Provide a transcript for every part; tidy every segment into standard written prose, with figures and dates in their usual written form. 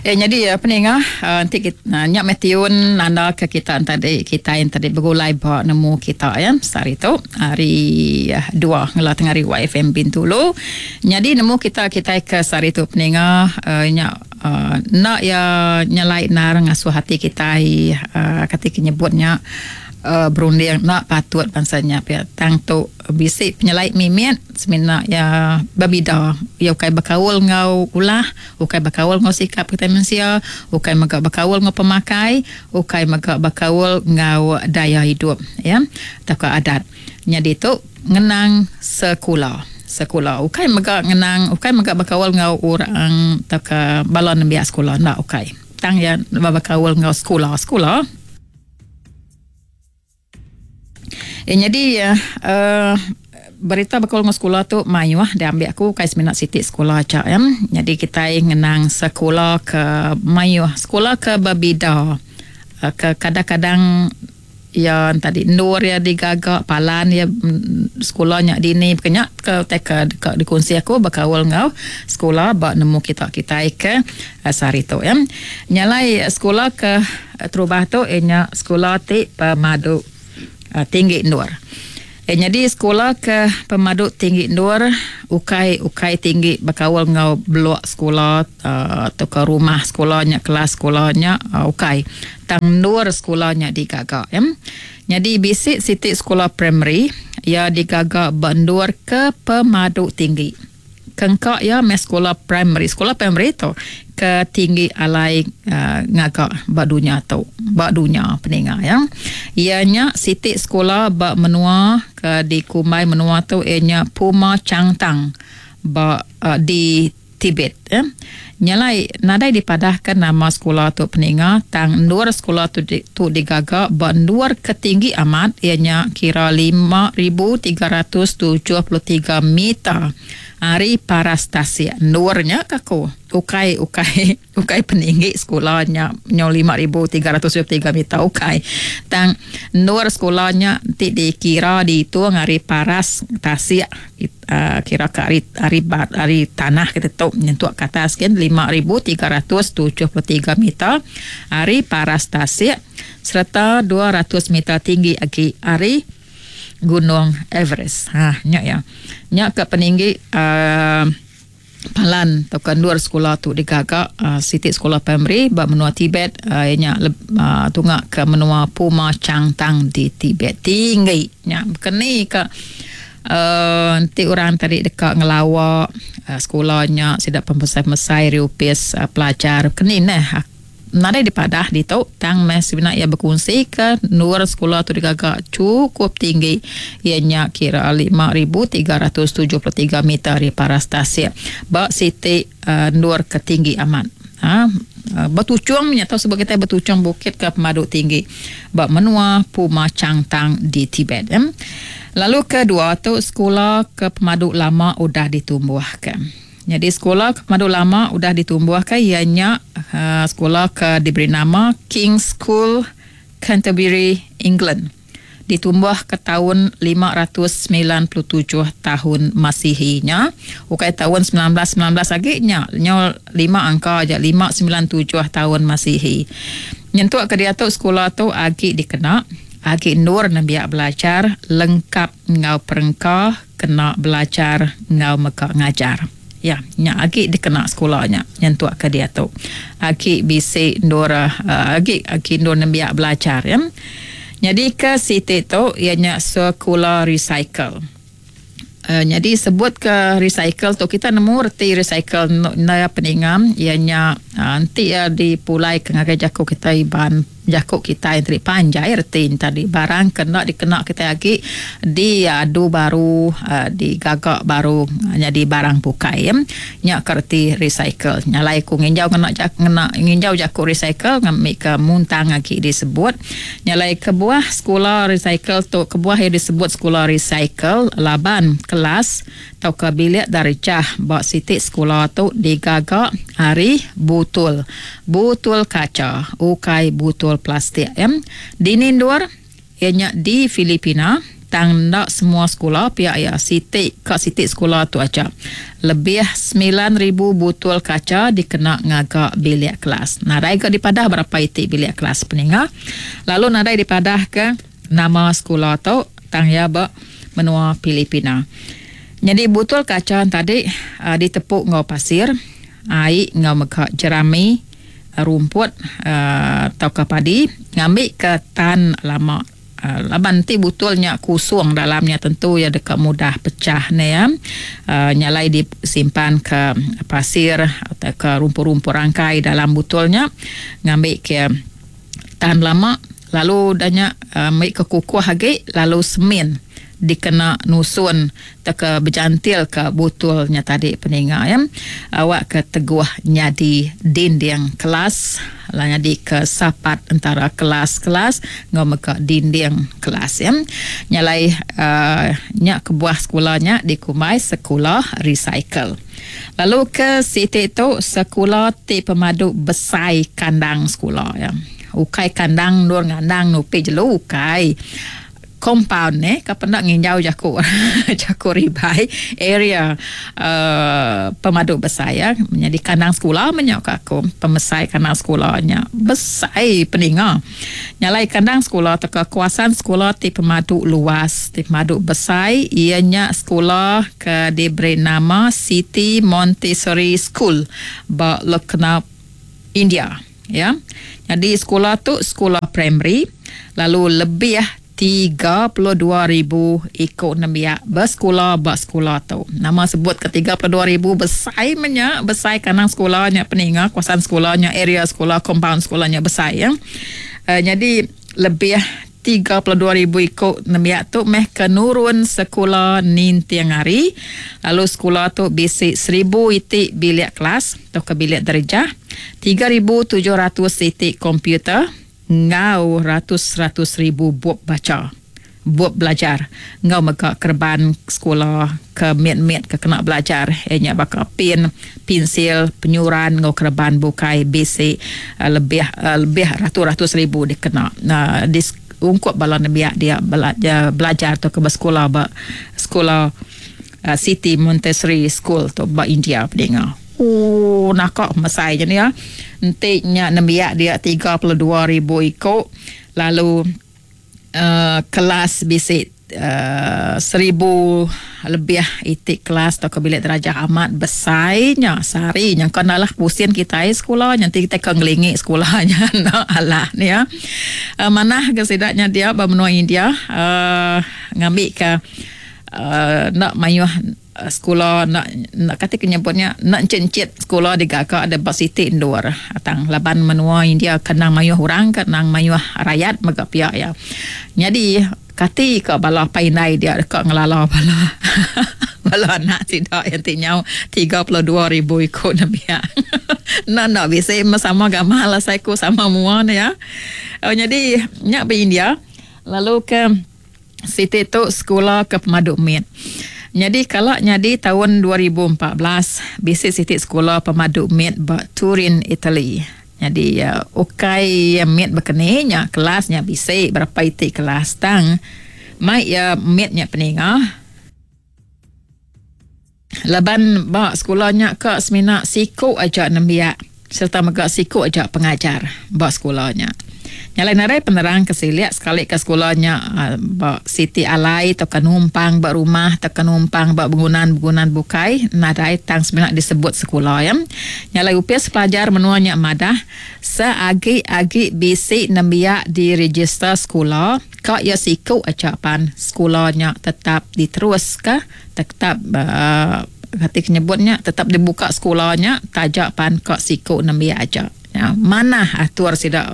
Eh nyadi peninga enti nya meh tiun nanda ke kita tadi kitai tadi begulai ba nemu kita ya sehari tu hari dua ngela tengah hari YFM Bintulu. Nyadi nemu kita kitai ke sehari tu peninga nya enda iya nyelai endar ngasuh ati kitai kati ke nyebut nya berunding enda patut bansa nya pia tang tu bisi penyelai mimit semina iya bebida. Iya ukai bekaul enggau ulah, ukai bekaul enggau sikap kitai mensia, ukai mega bekaul enggau pemakai, ukai mega bekaul enggau daya idup iya tauka adat. Nyadi tu ngenang sekula. Sekula ukai mega ngenang ukai mega bekaul enggau orang tauka bala nembiak sekula enda ukai. Tang iya bekaul enggau sekula. Sekula. Eh, nyadi uh, berita bekaul enggau sekula tu mayuh diambil aku ukai semina siti sekula aja ya. Nyadi kitai ngenang sekula ke mayuh, sekula ke bebida uh, ke kadang-kadang iya tadi endur iya digaga palan iya sekula nya dini baka nya ke utai ke deka dikunsi aku bekaul enggau sekula ba nemu kita kitai ke sehari tu ya. Nya alai sekula ke Terubah tu iya nya sekula ti pemadu tinggi endur. Iya nyadi sekula ke pemadu tinggi endur ukai ukai tinggi bekaul enggau blok sekula tauka rumah sekula nya kelas sekula nya ukai tang endur sekula nya digaga. Nyadi bisi siti sekula primary iya digaga ba endur ke pemadu tinggi. Kengka iya meh sekula primary. Sekula primary tu ke tinggi alai ngaga ba dunya tu, ba dunya peninga iya. Iya nya siti sekula ba menua ke dikumbai menua tu iya nya Puma Changtang ba di Tibet. Nya alai nadai dipadahka nama sekula tu peninga tang endur sekula tu tu digaga ba endur ke tinggi amat iya nya kira 5373 meter ari paras tasik. Endur nya ka ku ukai ukai ukai peninggi sekula nya nyau 5373 meter ukai tang endur sekula nya ti dikira diitung ari paras tasik. Kira ke ari ari ari tanah kita tu nyentuk ke atas gin 5373 meter ari paras tasik sereta 200 meter tinggi agi ari Gunung Everest. Ha nya iya. Nya ke peninggi uhh palan tauka endur sekula tu digaga siti sekula primary ba menua Tibet iya nya tunga ke menua Puma Changtang di Tibet. Tinggi nya keni ka uhh enti orang tadi deka ngelawa sekula nya sida pemesai-pemesai ari opis pelajar keni neh. Nadai dipadah ditu tang meh semina iya bekunsika endur sekula tu digaga chukup tinggi iya nya kira 5373 meter ari paras tasik ba siti endur ke tinggi amat. Ha betuchung nya tau sebut kitai betuchung bukit ke pemadu tinggi ba menua Puma Changtang di Tibet. Lalu kedua tu sekula ke pemadu lama udah ditumbuhka. Nyadi sekula ke pemadu lama udah ditumbuhka iya nya sekula ke diberi nama King's School, Canterbury, England. Ditumbuhka taun 597 tahun Masihi nya, ukai taun 1919 agi nya, nyau lima angka aja 597 tahun Masihi. Nyentuk ke diatu sekula tu agi dikena, agi endur nembiak belajar lengkap enggau perengka kena belajar enggau mega ngajar. Ya, nya agi dikena sekula nya nyentuk ke diatu. Agi bisi endur agi agi endur nembiak belajar ya. Nyadi ke siti tu iya nya sekula recycle. Nyadi sebut ke recycle tu kita nemu reti recycle enda peningam iya nya enti iya dipulai ke ngagai jaku kitai Iban. Jaku kitai enti panjai reti enti tadi barang ke enda dikena kitai agi diadu baru digaga baru nyadi barang bukai. Nya ke reti recycle. Nya alai ku nginjau ngena ngena nginjau jaku recycle ngambika muntang agi disebut. Nya alai kebuah sekula recycle tu kebuah iya disebut sekula recycle laban kelas tauka bilik darjah ba siti sekula tu digaga ari butul butul kacha ukai butul plastik. Dini endur iya nya di Filipina. Tang enda semua sekula pia iya siti ka siti sekula tu aja. Lebih 9000 butul kacha dikena ngaga bilik kelas. Nadai ga dipadah berapa iti bilik kelas peninga. Lalu nadai dipadah ke nama sekula tu tang iya ba menua Filipina. Nyadi butul kacha tadi ditepu enggau pasir, ai enggau mega jerami, rumput tauka padi ngambika tan lama. Laban enti butul nya kusung dalam nya tentu iya deka mudah pechah ne iya. Nya alai disimpan ke pasir tauka rumput-rumput rangkai dalam butul nya ngambi ke tan lama lalu udah nya meri ke kukuh agi lalu semin dikena nusun tauka bejantil ka butul nya tadi peninga iya awak ke teguh nyadi dinding kelas lalu nyadi ke sapat entara kelas-kelas enggau mega dinding kelas iya. Nya alai uhh nya kebuah sekula nya dikumbai sekula recycle. Lalu ke siti tu sekula ti pemadu besai kandang sekula iya. Ukai kandang endur ngandang nupi jelu ukai. Compound eh ka penda nginjau jaku jaku ribai area uhh pemadu besai ya nyadi kandang sekula meh nya ka aku pemesai kandang sekula nya besai peninga. Nya alai kandang sekula tauka kawasan sekula ti pemadu luas ti pemadu besai iya nya sekula ke diberi nama City Montessori School ba Lucknow India. Ya. Nyadi sekula tu sekula primary lalu lebih 32,000 iku nembiak besekula ba sekula tu. Nama sebut ke 32,000 besai meh nya, besai kandang sekula nya peninga kawasan sekula nya area sekula compound sekula nya besai ya. Nyadi lebih 32,000 iku nembiak tu meh ke nurun sekula ninting hari lalu sekula tu bisi 1,000 iti bilik kelas tauka bilik darjah, 3,700 iti komputer enggau ratus-ratus ribu bup bacha, bup belajar enggau mega kereban sekula ke mit-mit ke kena belajar iya nya baka pin, pinsil, penyuran enggau kereban bukai bisi lebih lebih ratus-ratus ribu dikena di ungkup bala nembiak dia belajar tauka besekula ba sekula City Montessori School tu ba India pedinga. Ooh naka pemesai nya nia. Enti nya nembiak dia 32,000 iku lalu uhh kelas bisi uhh 1,000 lebih iti kelas tauka bilik darjah amat besai nya sehari nya engka enda alah pusin kitai sekula nya enti kitai ke ngelingi sekula nya enda alah nia. Uhh manah ga sida nya dia ba menua India uhh ngambika uhh enda mayuh Sekula enda enda kati ke nyebut nya enda enchit-enchit sekula digaga deh ba siti endur tang laban menua India ke endang mayuh orang ke endang mayuh rayat mega pia iya. Nyadi kati ka bala apai indai dia deka ngelala bala bala anak sida iya ti nyau 32,000 iku nembiak. Enda enda bisi meh sama gamal asai ku sama mua ne iya. Nyadi nya ba India lalu ke. Siti tu sekula ke pemadu mit. Nyadi kala nyadi taun 2014, bisi siti sekula pemadu mit ba Turin, Italy. Nyadi ukai mit bekeni nya kelas nya bisi berapa iti kelas tang mai iya mit nya peninga. Laban ba sekula nya ka semina siku aja nembiak sereta mega siku aja pengajar ba sekula nya. Nya alai nadai penerang ke silik sekali ka sekula nya ba siti alai tauka numpang ba rumah tauka numpang ba begunan-begunan bukai nadai tang semina disebut sekula iya. Nya alai opis pelajar menua nya madah seagi-agi bisi nembiak direjister sekula ka iya siku aja pan sekula nya tetap diteruska. Tetap kati ke nyebut nya tetap dibuka sekula nya taja pan ka siku nembiak aja. Manah atur sida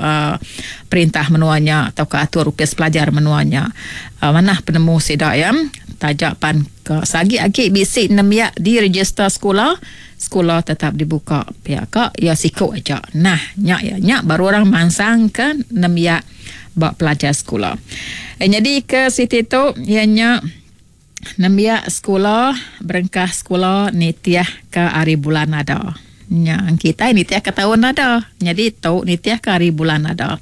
perintah menua nya tauka atur opis pelajar menua nya. Manah penemu sida iya taja pan ka seagi agi bisi nembiak diregister sekula, sekula tetap dibuka pia ka iya siku aja. Nah nya iya nya baru orang mansang ke nembiak ba pelajar sekula. Nyadi ke siti tu iya nya. Nembiak sekula berengkah sekula nitihka hari bulan ada. Nya kitai nitihka taun ada. Nyadi tu nitihka hari bulan ada.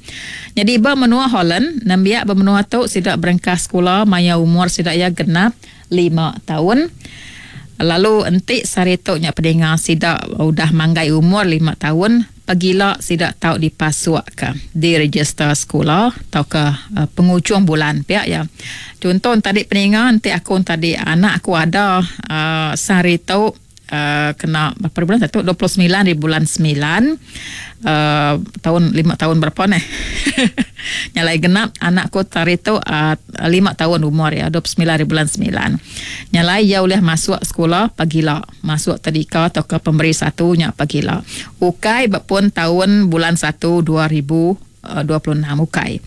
Nyadi ba menua Holland, nembiak ba menua tu sida berengkah sekula maya umur sida iya genap lima taun. Lalu enti sehari tu nya pedinga sida udah manggai umur lima taun, pagila sida tau dipasukka diregister sekula tauka pengujung bulan pia iya. Chunto enti peninga enti aku enti anak aku ada sehari tu kena berapa bulan satu 29 di bulan 9 tahun 5 tahun berapa neh nyalai genap anak aku hari tu 5 tahun umur ya 29 di bulan 9 nyalai ia ulih masuk sekolah pagila masuk tadika atau ke pemberi satu nya pagila ukai bepun tahun bulan 1 2026 ukai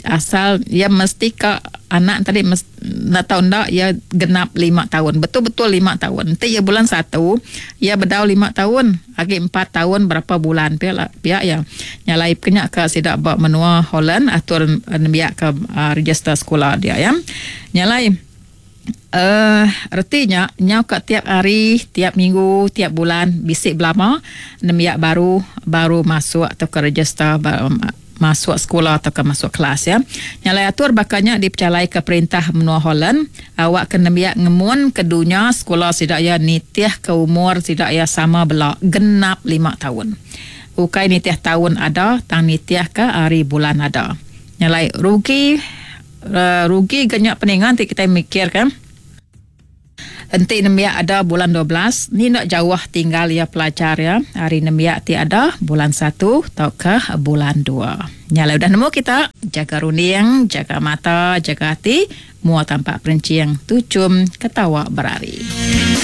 asal ia mesti ka anak tadi nak tahu ndak ia genap 5 tahun betul-betul 5 tahun. Nanti ia bulan 1 ia bedau 5 tahun lagi 4 tahun berapa bulan pia pia ya nyalai kena ke sidak ba menua Holland atur nembiak ke register sekolah dia ya nyalai retinya nyau ka tiap hari tiap minggu tiap bulan bisi belama nembiak baru baru masuk atau ke register masuk sekolah atau ke masuk kelas ya. Nyalai atur bakanya dipercalai ke perintah menua Holland awak ke nembiak ngemun ke dunia sekolah sidak ya nitih ke umur sidak ya sama bela genap 5 tahun. Ukai nitih tahun ada tang nitih ke hari bulan ada. Nyalai rugi rugi genyak peningan ti kita mikir kan. Enti nembiak ada bulan 12, ni nak jauh tinggal ia pelajar ya. Hari nembiak ti ada bulan 1 atau ke bulan 2. Nyala udah nemu kita, jaga runding, jaga mata, jaga hati, mua tampak perencing, tucum ketawa berari.